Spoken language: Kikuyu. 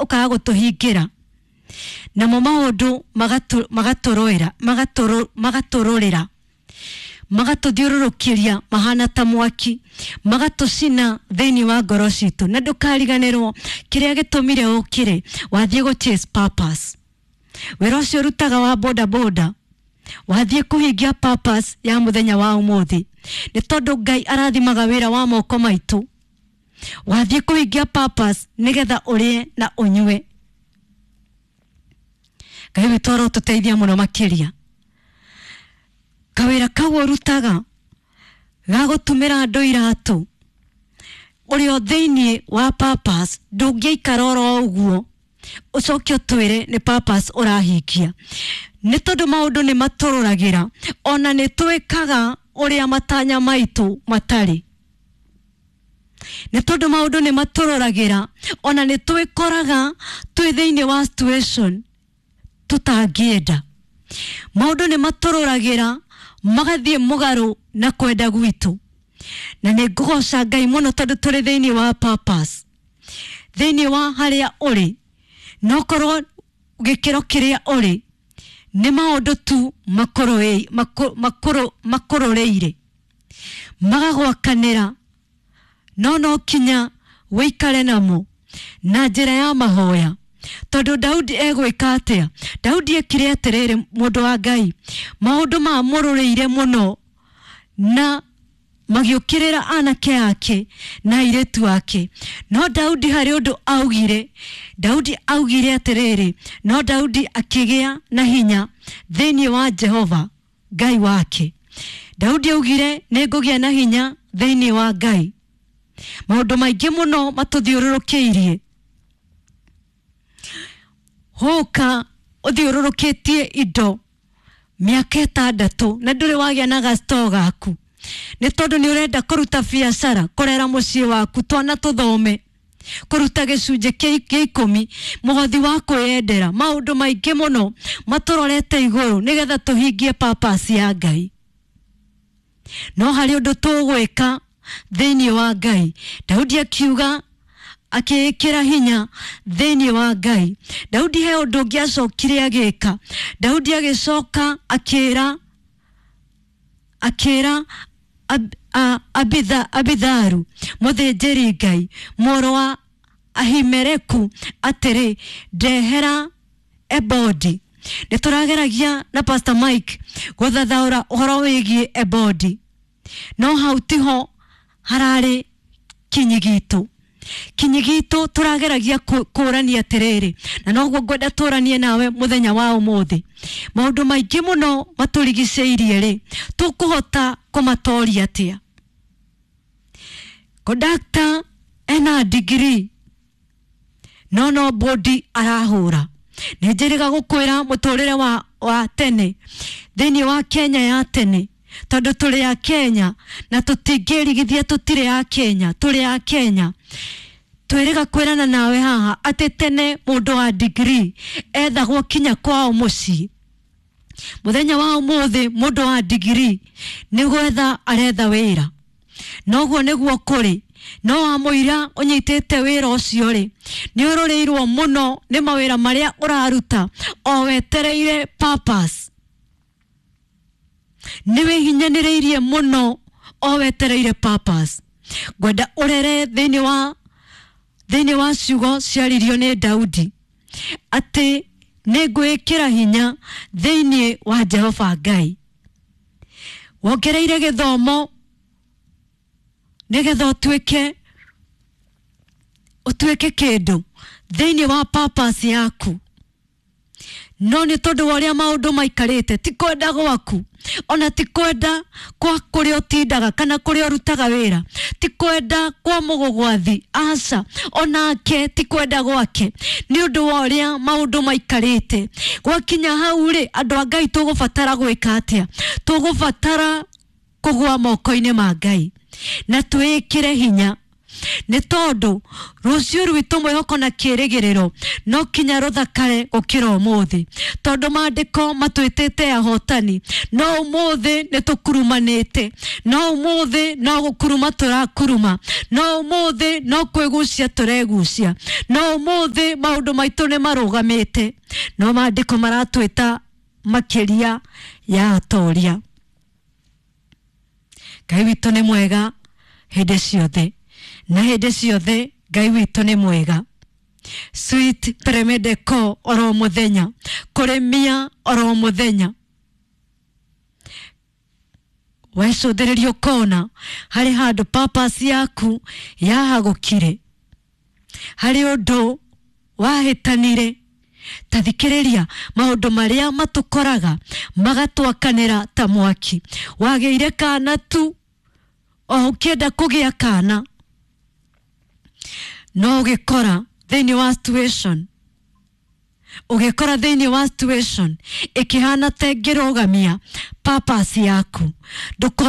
ũkaga gũtũhingĩra, namo maũndũ magatũrũĩra, magatũrũrĩra, magatũthiũrũrũkĩria mahana ta mwaki, magatũcina thĩinĩ wa ngoro citũ. Na ndũkariganĩrwo kĩrĩa gĩtũmire ũkĩre wathiĩ gũ chase purpose. Wĩra ũcio ũrutaga wa boda boda wathiĩ kũhingia purpose ya mũthenya wa ũmũthĩ, nĩ tondũ Ngai arathimaga wĩra wa moko maitũ. Wathiĩ kũhingia purpose nĩgetha ũrĩe na ũnyue. Ngai witũ arotũteithia mũno makĩria. Kawĩra kau ũrutaga ga gũtumĩra andũ iratũ, ũrĩ o thĩinĩ wa purpose, ndũngĩikara oro ũguo ũcoke ũtwĩre nĩ purpose ũrahingia, nĩ tondũ maũndũ nĩ matũrũragĩra, ona nĩ twĩkaga ũrĩa matanya maitũ matarĩ, nĩ tondũ maũndũ nĩ matũrũragĩra, ona nĩ twĩkoraga twĩ thĩinĩ wa situation tũtangĩenda. Maũndũ nĩ matũrũragĩra magathiĩ mũgarũ na kwenda gwitũ. Na nĩ ngũgoca Ngai mũno tondũ tũrĩ thĩinĩ wa purpose. Thĩinĩ wa harĩa ũrĩ, no korwo gĩkĩro kĩrĩa ũrĩ nĩ maũndũ tu makũrũrĩire, magagwakanĩra, no kinya wĩikare namo na njĩra ya mahoya. Tondũ Daudi egwĩka atĩa? Daudi ekire atĩrĩrĩ, mũndũ wa Ngai, maũndũ mamũrũrĩire mũno na magĩũkĩrĩra anake ake na airĩtu ake. No Daudi harĩ ũndũ augire. Daudi augire atĩrĩrĩ, no Daudi akĩgĩa na hinya thĩinĩ wa Jehova Ngai wake. Daudi augire nĩ ngũgĩa na hinya thĩinĩ wa Ngai. Maũndũ maingĩ mũno matũthiũrũrũkĩirie. Hũka ũthiũrũrũkĩtie indo mĩaka 6 na ndũrĩ wagĩa na gastoo gaku, nĩ tondũ nĩ ũrenda kũruta biacara, kũrera mũciĩ waku, twana tũthome, kũruta gĩcunjĩ kĩa 10, mũhothi wa kwĩyendera. Maũndũ maingĩ mũno matũrorete igũrũ nĩgetha tũhingie purpose ya Ngai. No harĩ ũndũ tũgwĩka thĩinĩ wa Ngai. Daudi akiuga akĩĩkĩra hinya thĩinĩ wa Ngai. Daudi he ũndũ ũngĩ acokire agĩka. Daudi agĩcoka akĩra Abitharu mũthĩnjĩri Ngai mũrũ wa Ahimeleku atĩrĩ, ndehera ebodi. Nĩ tũrageragia na Pastor Mike gũthathaũra ũhoro wĩgiĩ ebodi, no hau tiho hararĩ kinyi gitũ. Kinyi gitũ tũrageragia kũrania atĩrĩrĩ, na noguo ngwenda tũranie nawe mũthenya wa ũmũthĩ. Maũndũ maingĩ mũno matũrigicĩirie rĩ, tũkũhota kũmatoria atĩa? Kondakta ena degree no bodi arahũra. Nĩ njĩrĩga gũkwĩra mũtũrĩre wa tene thĩinĩ wa Kenya ya tene, tondũ tũrĩ a Kenya na tũtingĩrigithia tũtirĩ a Kenya, tũrĩ a Kenya. Twĩrĩga kwĩrana nawe haha atĩ tene mũndũ wa degree ethagwo kinya kwao mũciĩ. Mũthenya wa ũmũthĩ mũndũ wa degree nĩ gwetha aretha wĩra. Noguo nĩguo kũrĩ. No wa mũira ũnyitĩte wĩra ũcio rĩ, nĩ ũrũrĩirwo mũno nĩ mawĩra marĩa ũraruta o wetereire purpose. Nĩ wĩhinyanĩrĩirie mũno o wetereire purpose. Ngwenda ũrere thĩinĩ wa ciugo ciaririo nĩ Daudi atĩ nĩ ngwĩkĩra hinya thĩinĩ wa Jehova Ngai. Wongereire gĩthomo nĩgetha ũtuĩke kĩndũ thĩinĩ wa purpose yaku. No nĩ tondũ wa ũrĩa maũndũ maikarĩte, ti kwenda gwaku, ona ti kwenda kwa kũrĩa ũtindaga kana kũrĩa ũrutaga wĩra, ti kwenda kwa mũgũgwathi, aca, onake ti kwenda gwake, nĩ ũndũ wa ũrĩa maũndũ maikarĩte. Gwakinya hau rĩ, andũ a Ngai tũgũbatara gwĩka atĩa? Tũgũbatara kũgũa moko-inĩ ma Ngai na twĩkĩre hinya. Nĩ tondũ rũciũ rwitũ mwĩhoko na kĩĩrĩgĩrĩro no kinya rũthakare gũkĩra ũmũthĩ, tondũ maandĩko matwĩtĩte ahotani. No ũmũthĩ nĩ tũkurumanĩte, no ũmũthĩ no gũkuruma tũrakuruma, no ũmũthĩ no kwĩgucia tũregucia, no ũmũthĩ maũndũ maitũ nĩ marũgamĩte, no maandĩko maratwĩta makĩria ya atoria. Ngai witũ nĩ mwega hĩndĩ ciothe, na hĩndĩ ciothe Ngai witũ nĩ mwega. Sweet Premedeko oro mũthenya, kũrĩmia oro mũthenya, wecũthĩrĩria ũkona harĩ handũ purpose yaku yahagũkire, harĩ ũndũ wahĩtanire. Ta thikĩrĩria maũndũ marĩa matũkoraga magatwakanĩra ta mwaki. Wagĩire kana tu o ũkĩenda kũgĩa kana, no ũgĩkora thĩinĩ wa situation, ũgĩkora thĩinĩ wa situation ĩkĩhana ta ĩngĩrũgamia purpose yaku. Ndũko